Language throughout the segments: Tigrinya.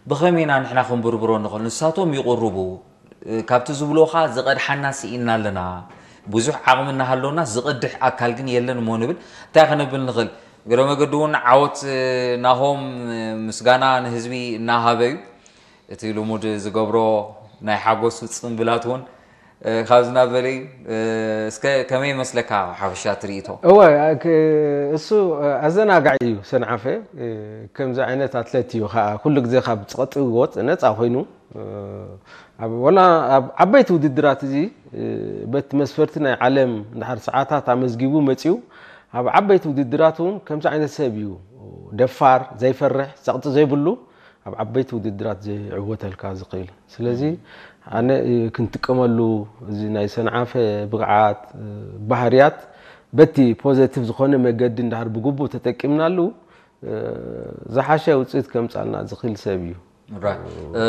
ብኸመይ ኢና ንሕና ክንብርብሮ ንኽእል? ንሳቶም ይቕርቡ፣ እ፣ ካብቲ ዝብልዎ ኸኣ ዝቐድሓና ስኢንና ኣለና። ብዙሕ ዓቕሚ እናሃለወና ዝቐድሕ ኣካል ግን የለን እሞ ንብል። እንታይ ከነብል ንኽእል? እግረ መገዲ እውን ዓወት፣ እ፣ ናሆም፣ እ፣ ምስጋና ንህዝቢ እናሃበ እዩ። እቲ ልሙድ ዝገብሮ ናይ ሓጎስ ጽምብላት እውን፣ እ፣ ካብዚ ናብ በለ እዩ። እ፣ እስከ ከመይ ይመስለካ ሓፈሻ ትርኢቶ? እወ፣ ክ-፣ እሱ፣ እ፣ ኣዘናጋዒ እዩ ሰንዓፈ። እ፣ ከምዚ ዓይነት ኣትሌት እዩ ኸዓ ኩሉ ግዜ ካብ ጸቕጢ ወጽ-፣ ነጻ ኮይኑ፣ እ፣ ኣብ፣ ወላ ኣብ ዓበይቲ ውድድራት እዚ፣ እ፣ በቲ መስፈርቲ ናይ ዓለም እንድሕር ሰዓታት ኣመዝጊቡ መጺኡ፣ ኣብ ዓበይቲ ውድድራት እውን ከምዚ ዓይነት ሰብ እዩ። ደፋር፣ ዘይፈርሕ፣ ጸቕጢ ዘይብሉ፣ ኣብ ዓበይቲ ውድድራት ዝዕወተልካ ዝኽእል። ስለዚ ኣነ፣ እ፣ ክንጥቀመሉ እዚ ናይ ሰንዓፈ ብቕዓት፣ እ፣ ባህርያት በቲ ፖዘቲቭ ዝኾነ መገዲ እንድሕር ብግቡእ ተጠቂምናሉ፣ እ፣ ዝሓሸ ውፅኢት ከምጻልና ዝኽእል ሰብ እዩ። ራይት። እ፣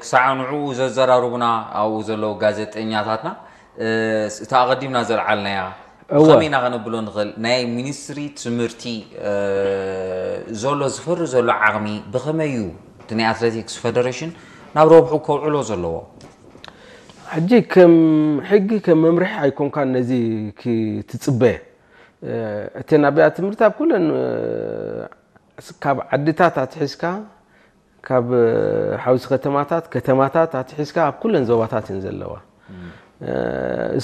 ክሳዕ ንዕኡ ዘዘራርቡና ኣብኡ ዘለዉ ጋዜጠኛታትና፣ እ፣ እታ ኣቐዲምና ዘልዓልናያ እወ። ብኸመይ ኢና ከነብሎ ንኽእል? ናይ ሚኒስትሪ ትምህርቲ፣ እ፣ ዘሎ ዝፈሪ ዘሎ ዓቕሚ ብኸመይ እዩ እቲ ናይ ኣትሌቲክስ ፌደሬሽን ናብ ረብሑ ከውዕሎ ዘለዎ? ሕጂ ከም ሕጊ፣ ከም መምርሒ ኣይኮንካን ነዚ ክትጽበ። እ፣ እተን ኣብያተ ትምህርቲ ኣብ ኩለን፣ እ፣ ካብ ዓድታት ኣትሒዝካ፣ ካብ፣ እ፣ ሓውሲ ከተማታት፣ ከተማታት ኣትሒዝካ ኣብ ኩለን ዞባታት እየን ዘለዋ። እ፣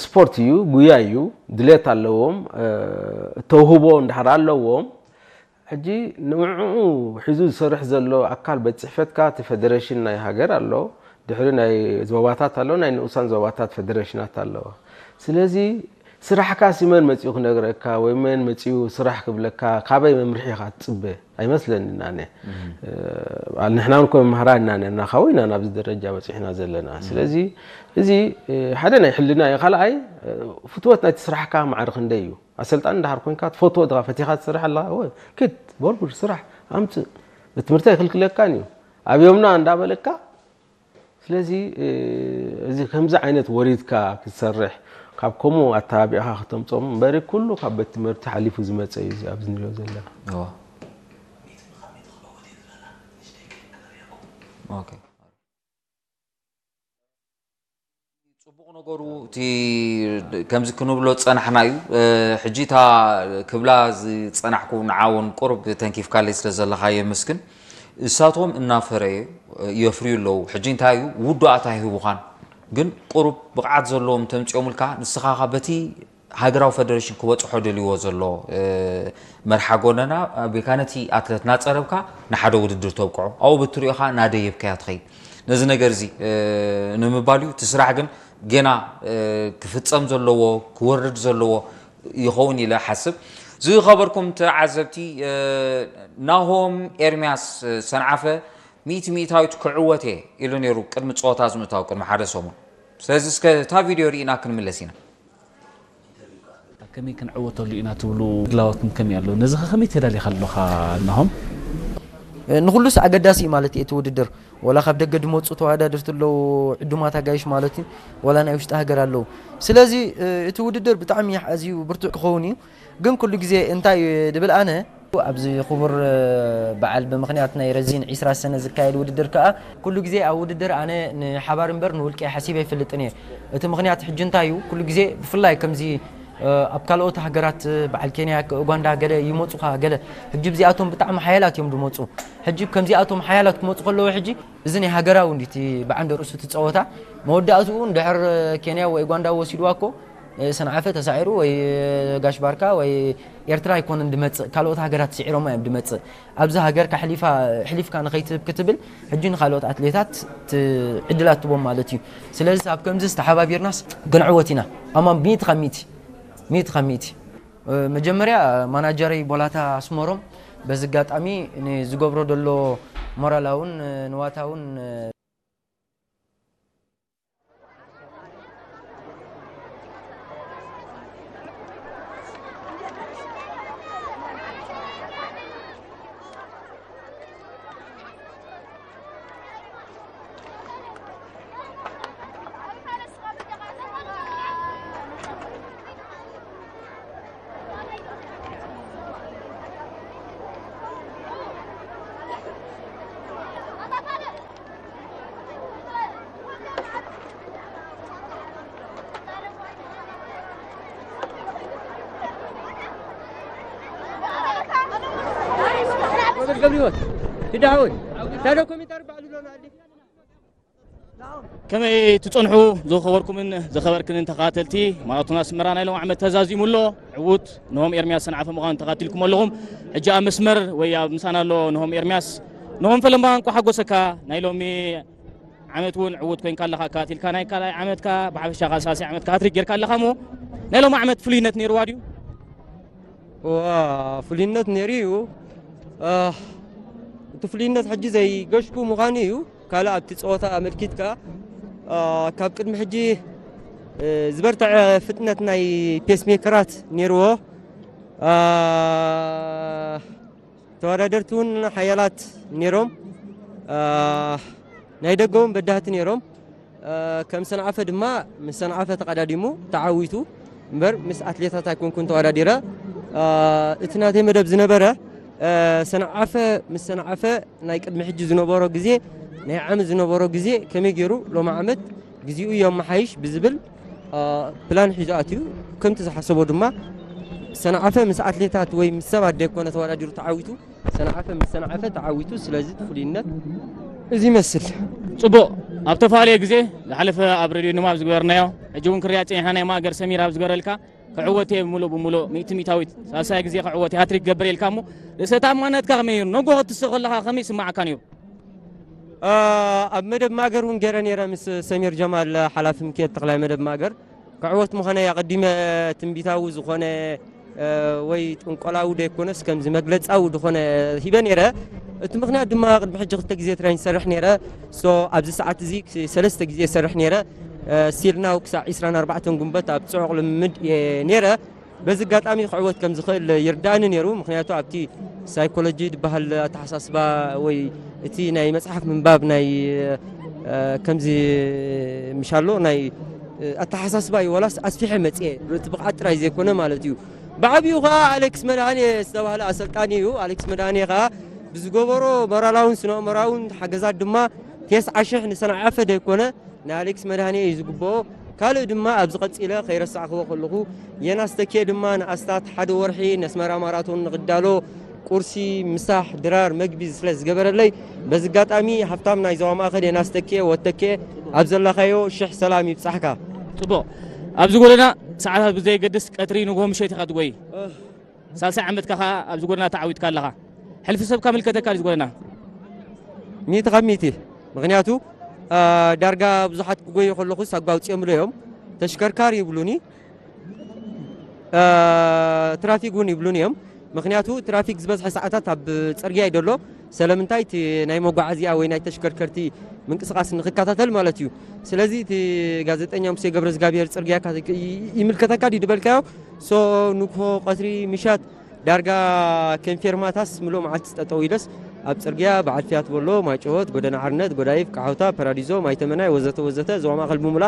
ስፖርት እዩ፣ ጉያ እዩ፣ ድሌት ኣለዎም፣ እ፣ ተውህቦ እንድሕር ኣለዎም፣ ሕጂ ንዕኡ ሒዙ ዝሰርሕ ዘሎ ኣካል ቤት ጽሕፈትካ እቲ ፌደሬሽን ናይ ሃገር ኣሎ፣ ድሕሪ ናይ ዞባታት ኣሎ፣ ናይ ንኡሳን ዞባታት ፌደሬሽናት ኣለዋ። ስለዚ ስራሕካ ሲ መን መጺኡ ክነግረካ ወይ መን መጺኡ ስራሕ ክብለካ፣ ካበይ መምርሒ ኢኻ ትጽበ? ኣይመስለንን ኣነ። እ፣ ንሕና እውን ኮ መምህራን ኢና ነርና፣ ካብኡ ኢና ናብዚ ደረጃ በጺሕና ዘለና። ስለዚ እዚ፣ እ፣ ሓደ ናይ ሕልና እዩ። ካልኣይ፣ እ፣ ፍትወት ናይቲ ስራሕካ ማዕረ ክንደይ እዩ? ኣሰልጣኒ እንድሕር ኮንካ ትፈትዎ ድኻ ፈቲኻ ትሰርሕ ኣለኻ፣ እወ፣ ኪድ፣ ቦርቡር፣ ስራሕ፣ ኣምጽእ፣ ትምህርቲ ኣይክልክለካን እዩ። ኣብዮምና እንዳበለካ፣ ስለዚ፣ እ፣ እዚ ከምዚ ዓይነት ወሪድካ ክትሰርሕ፣ ካብ ከምኡ ኣተባቢዕካ ክተምጾም እምበሪ፣ ኩሉ ካብ ቤት ትምህርቲ ሓሊፉ ዝመጸ እዩ እዚ ኣብዚ ንሪኦ ዘለና። እዎ። ኦኬ። ጽቡቕ ነገሩ እቲ ከምዚ ክንብሎ ዝጸናሕና እዩ። እ፣ ሕጂ እታ ክብላ ዝጸናሕኩ ንዓ እውን ቁሩብ ተንኪፍካለይ ስለ ዘለኻ የመስግን። እሳቶም እናፈረየ የፍርዩ ኣለዉ። ሕጂ እንታይ እዩ ውዱኣት ኣይህቡኻን፣ ግን ቁሩብ ብቕዓት ዘለዎም ተምጺኦምልካ ንስኻ ኸኣ በቲ ሃገራዊ ፈደረሽን ክበጽሖ ደልይዎ ዘሎ፣ እ፣ መርሓ ጎደና ኣቢልካ ነቲ ኣትለት እናጸረብካ ንሓደ ውድድር ተብቅዖ። ኣብኡ ብትሪኦ ኸኣ እናደየብካዮ ትኸይድ። ነዚ ነገር እዚ፣ እ፣ ንምባል እዩ። እቲ ስራሕ ግን ጌና፣ እ፣ ክፍጸም ዘለዎ፣ ክወርድ ዘለዎ ይኸውን ኢለ እሓስብ። ዝኸበርኩም ተዓዘብቲ፣ እ፣ ናሆም ኤርምያስ፣ እ፣ ሰንዓፈ ሚእቲ ሚእታዊት ክዕወት እየ ኢሉ ነይሩ ቅድሚ ጸወታ ዝምእታው ቅድሚ ሓደ ሰሙን። ስለዚ እስከ እታ ቪድዮ ርኢና ክንምለስ ኢና። ከመይ ክንዕወተሉ ኢና ትብሉ ድላዋትኩም ከመይ ኣሎ? ነዚ ኸ ከመይ ተዳሊኻ ኣለኻ ናሆም? ንኹሉስ ኣገዳሲ እዩ ማለት እዩ እቲ ውድድር። ወላ ካብ ደገ ድመፁ ተወዳደርቲ ኣለዉ፣ ዕዱማት ኣጋይሽ ማለት እዩ፣ ወላ ናይ ውሽጢ ሃገር ኣለዉ። ስለዚ፣ እ፣ እቲ ውድድር ብጣዕሚ ኣዝዩ ብርቱዕ ክኸውን እዩ። ግን ኩሉ ግዜ እንታይ ድብል ኣነ፣ ኣብዚ ክቡር፣ እ፣ በዓል ብምኽንያት ናይ ረዚን ዒስራ ሰነ ዝካየድ ውድድር ከኣ፣ ኩሉ ግዜ ኣብ ውድድር ኣነ ንሓባር እምበር ንውልቀ ሓሲበ ኣይፈልጥን እየ። እቲ ምኽንያት ሕጂ እንታይ እዩ? ኩሉ ግዜ ብፍላይ ከምዚ፣ እ፣ ኣብ ካልኦት ሃገራት፣ እ፣ በዓል ኬንያ፣ ኡጋንዳ ገለ ይመጹኻ፣ ገለ። ሕጂ ብዚኣቶም ብጣዕሚ ሓያላት እዮም ዝመጹ። ሕጂ ከምዚኣቶም ሓያላት ክመጹ ከለዉ ሕጂ እዚ ናይ ሃገራዊ እንዲ እቲ ብዓንደ ርእሱ እቲ ጸወታ መወዳእትኡ እንድሕር ኬንያ ወይ ኡጋንዳ ወሲድዋ እኮ፣ እ፣ ሰንዓፈ ተሳዒሩ ወይ፣ እ፣ ጋሽ ባርካ ወይ ኤርትራ ኣይኮነን ድመጽእ፣ ካልኦት ሃገራት ስዒሮማ እዮም ድመጽእ። ኣብዚ ሃገርካ ሕሊፋ-፣ ሕሊፍካ ንኸይትህብ ክትብል ሕጂ ንኻልኦት ኣትሌታት ት-፣ ዕድላት ትቦም ማለት እዩ። ስለዚ ኣብ ከምዚ ዝተሓባቢርናስ ክንዕወት ኢና። ኣማን ሚእቲ ካብ ሚእቲ፣ ሚእቲ ካብ ሚእቲ። እ፣ መጀመርያ ማናጀረይ ቦላታ ኣስመሮም በዚ ኣጋጣሚ ንዝገብሮ ዘሎ ሞራላውን፣ እ፣ ንዋታውን፣ እ፣ ገብርሂወት ትዳውን ታዶ ኮሜንታሪ ባዕሉ ሎና ኣሊ ከመይ ትጸንሑ ዝኸበርኩምን ዝኸበርክንን ተኸታተልቲ ማራቶን ኣስመራ ናይ ሎም ዓመት ተዛዚሙ ኣሎ። ዕዉት ነሆም ኤርሚያስ ሰንዓፈ ምዃኑ ተኸታቲልኩም ኣለኹም። ሕጂ ኣብ መስመር ወይ ኣብ ምሳና ኣሎ ነሆም ኤርሚያስ። ነሆም ፈለማ እንኳ ሓጎሰካ። ናይ ሎሚ ዓመት እውን ዕዉት ኮይንካ ኣለኻ። ኣካታቲልካ ናይ ካልኣይ ዓመትካ ብሓፈሻ ካልሳሲ ዓመትካ ሃትሪክ ጌርካ ኣለኻ እሞ ናይ ሎም ዓመት ፍሉይነት ነይርዋ ድዩ? ዋ ፍሉይነት ነይሩ እዩ። እቲ ፍሉይነት ሕጂ ዘይገሽኩ ምዃኑ እዩ። ካልእ ኣብቲ ፀወታ ኣመልኪትካ ካብ ቅድሚ ሕጂ ዝበርትዐ ፍጥነት ናይ ፔስሜከራት ነይርዎ። ተወዳደርቲ እውን ሓያላት ነይሮም። ናይ ደገ እውን በዳህቲ ነይሮም። ከም ሰንዓፈ ድማ ምስ ሰንዓፈ ተቐዳዲሙ ተዓዊቱ እምበር ምስ ኣትሌታት ኣይኮንኩን ተወዳዲረ። እቲ ናተይ መደብ ዝነበረ ሰንዓፈ ምስ ሰንዓፈ ናይ ቅድሚ ሕጂ ዝነበሮ ግዜ ናይ ዓመት ዝነበሮ ግዜ ከመይ ገይሩ ሎሚ ዓመት ግዜኡ የመሓይሽ ብዝብል ፕላን ሒዙ ኣትዩ። ከምቲ ዝሓሰቦ ድማ ሰንዓፈ ምስ ኣትሌታት ወይ ምስ ሰባት ደይኮነ ተወዳዲሩ ተዓዊቱ ሰንዓፈ ምስ ሰንዓፈ ተዓዊቱ። ስለዚ እቲ ፍሉይነት እዚ ይመስል። ጽቡቕ። ኣብ ተፈላለየ ግዜ ዝሓለፈ ኣብ ሬድዮ ንማብ ዝገበርናዮ ሕጂ እውን ክሪኣ ጸኒሕና ናይ ማእገር ሰሚር ኣብ ዝገበረልካ ክዕወት እየ ምሉእ ብምሉእ ሚእቲ ሚእታዊት ሳልሳይ ግዜ ክዕወት እየ ሃትሪክ ክገብር ኢልካ እሞ ርእሰ ተኣማንነትካ ከመይ ነይሩ? ነጎ ክትስእ ከለኻ ከመይ ይስምዓካ ነይሩ? ኣብ መደብ ማእገር እውን ገይረ ነይረ ምስ ሰሚር ጀማል ሓላፊ ምክየት ተኽላይ መደብ ማእገር ክዕወት ምዃነይ ኣቐዲመ ትንቢታዊ ዝኾነ ወይ ጥንቆላዊ ደይኮነስ ከምዚ መግለጻዊ ዝኾነ ሂበ ነይረ። እቲ ምኽንያት ድማ ቅድሚ ሕጂ ክልተ ግዜ ትሬን ይሰርሕ ነይረ። ሶ ኣብዚ ሰዓት እዚ ሰለስተ ግዜ ይሰርሕ ነይረ። ሲልናው ክሳዕ ዕስራን ኣርባዕተን ጉንበት ኣብ ጽዑቕ ልምምድ እየ ነይረ። በዚ ኣጋጣሚ ክዕወት ከም ዝኽእል ይርዳእኒ ነይሩ። ምኽንያቱ ኣብቲ ሳይኮሎጂ ዝበሃል ኣተሓሳስባ ወይ እቲ ናይ መጽሓፍ ምንባብ ናይ ከምዚ ምሻሎ ናይ ኣተሓሳስባ እዩ ወላስ ኣስፊሐ መጽኤ እቲ ብቕዓት ጥራይ ዘይኮነ ማለት እዩ። ብዓብኡ ከዓ ኣሌክስ መድሃኔ ዝተባህለ ኣሰልጣኒ እዩ። ኣሌክስ መድሃኔ ከዓ ብዝገበሮ ሞራላውን ስነ ኣእምራውን ሓገዛት ድማ ቴስዓ ሽሕ ንሰንዓፈ ደይኮነ ንኣሌክስ መድሃኔ እዩ ዝግብኦ። ካልእ ድማ ኣብዚ ቀጺለ ከይረሳዕክዎ ከለኹ የናስ ተኬ ድማ ንኣስታት ሓደ ወርሒ ነስመራ ማራቶን ንኽዳሎ ቁርሲ፣ ምሳሕ፣ ድራር፣ መግቢ ስለ ዝገበረለይ በዚ ኣጋጣሚ ሃፍታም ናይ ዞባ ማእኸል የናስ ተኬ ወተኬ ኣብ ዘለኻዮ ሽሕ ሰላም ይብጻሕካ። ጽቡቕ። ኣብዚ ጎደና ሰዓታት ብዘየገድስ ቀትሪ ንግሆ ምሸት ኢኻ ትጎይ። ሳልሳይ ዓመትካ ኸዓ ኣብዚ ጎደና ተዓዊትካ ኣለኻ። ሕልፊ ሰብካ ምልከተካ ድዩ ጎደና? ሚእቲ ካብ ሚእቲ። ምኽንያቱ ዳርጋ ብዙሓት ክጎዩ ከለኹስ ኣጓውፅኦምሉ እዮም። ተሽከርካሪ ይብሉኒ፣ ትራፊክ እውን ይብሉኒ እዮም። ምኽንያቱ ትራፊክ ዝበዝሐ ሰዓታት ኣብ ፅርግያ እዩ ዘሎ። ስለምንታይ እቲ ናይ መጓዓዝያ ወይ ናይ ተሽከርከርቲ ምንቅስቃስ ንክከታተል ማለት እዩ። ስለዚ እቲ ጋዜጠኛ ሙሴ ገብረ እግዚኣብሔር ፅርግያ ይምልከተካ ድዩ ዝበልካዮ ሶ ንግሆ ቀትሪ ምሻት ዳርጋ ከም ፌርማታስ ምሉእ መዓልቲ ጠጠው ኢለስ ኣብ ጽርግያ በዓል ፊያት በሎ፣ ማይጨወት፣ ጎደና ሓርነት፣ ጎዳይፍ፣ ቃሖታ፣ ፓራዲዞ፣ ማይተመናይ ወዘተ ወዘተ ዞባ ማእኸል ብምሉኣ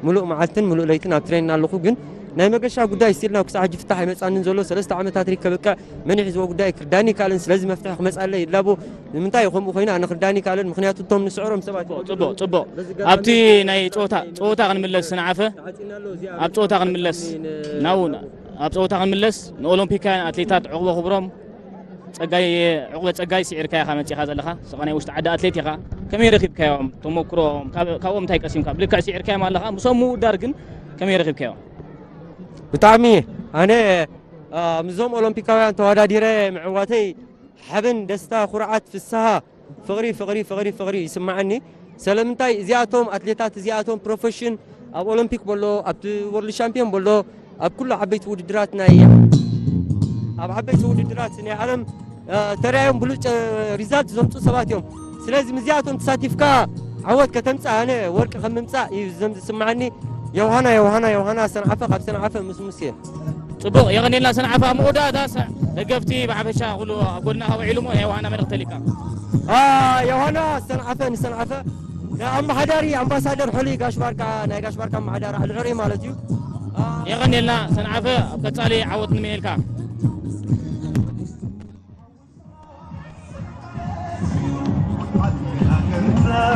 ምሉእ መዓልትን ምሉእ ለይትን ኣብ ትሬን ኣለኹ። ግን ናይ መገሻ ጉዳይ ስቲል ናብ ክሳዕ ሕጂ ፍታሕ ኣይመጻንን ዘሎ። ሰለስተ ዓመታት ሪክ ከብቅዕ መን ይሕዝዎ ጉዳይ ክርዳኒ ይካልን። ስለዚ መፍትሒ ክመጻለይ ይላቦ። ንምንታይ ከምኡ ኮይኑ ኣነ ክርዳኒ ይካልን? ምኽንያቱ እቶም ንስዕሮም ሰባት ጽቡቕ ጽቡቕ። ኣብቲ ናይ ጸወታ ጸወታ ክንምለስ ስንዓፈ ኣብ ጸወታ ክንምለስ ናው ኣብ ጸወታ ክንምለስ ንኦሎምፒካውያን ኣትሌታት ዕቑበ ክብሮም ጸጋይ ዕቑበ ጸጋይ ስዒርካ ኢኻ መጺኻ ዘለኻ። ስኻ ናይ ውሽጢ ዓዲ ኣትሌት ኢኻ። ከመይ ረኺብካዮም ተመክሮኦም? ካብ- ካብኦም እንታይ ቀሲምካ? ብልክዕ ስዒርካዮም ኣለኻ። ምሶም ምውዳር ግን ከመይ ረኺብካዮም? ብጣዕሚ ኣነ አ፣ ምስዞም ኦሎምፒካውያን ተወዳዲረ ምዕዋተይ ሓበን፣ ደስታ፣ ኩርዓት፣ ፍስሃ፣ ፍቕሪ ፍቕሪ ፍቕሪ ፍቕሪ ይስምዓኒ። ስለምንታይ እዚኣቶም ኣትሌታት እዚኣቶም ፕሮፌሽን ኣብ ኦሎምፒክ በሎ ኣብቲ ወርልድ ሻምፒዮን በሎ ኣብ ኩሉ ዓበይቲ ውድድራት ናይ ኣብ ዓበይቲ ውድድራት ናይ ዓለም ተራዮም ብሉጭ ሪዛልት ዘምፁ ሰባት እዮም። ስለዚ ምስዚኣቶም ተሳቲፍካ ዓወት ከተምፅእ ኣነ ወርቂ ከም ምምፃእ እዩ ዝስምዓኒ። የውሃና የውሃና የውሃና ሰንዓፈ ካብ ሰንዓፈ ምስ ሙሴ። ፅቡቕ የቐኔልና ሰንዓፈ። ኣብ መወዳእታ ደገፍቲ ብሓፈሻ ኩሉ ኣብ ጎድና ካብ ውዒሉ ሞ ናይ የውሃና መልእኽቲ ተሊካ። የውሃና ሰንዓፈ ንሰንዓፈ ናይ ኣመሓዳሪ ኣምባሳደር ሕሉይ ጋሽ ባርካ ናይ ጋሽ ባርካ ኣመሓዳሪ ኣልዕሪ ማለት እዩ። የቐኔልና ሰንዓፈ ኣብ ቀፃሊ ዓወት ንምነየልካ።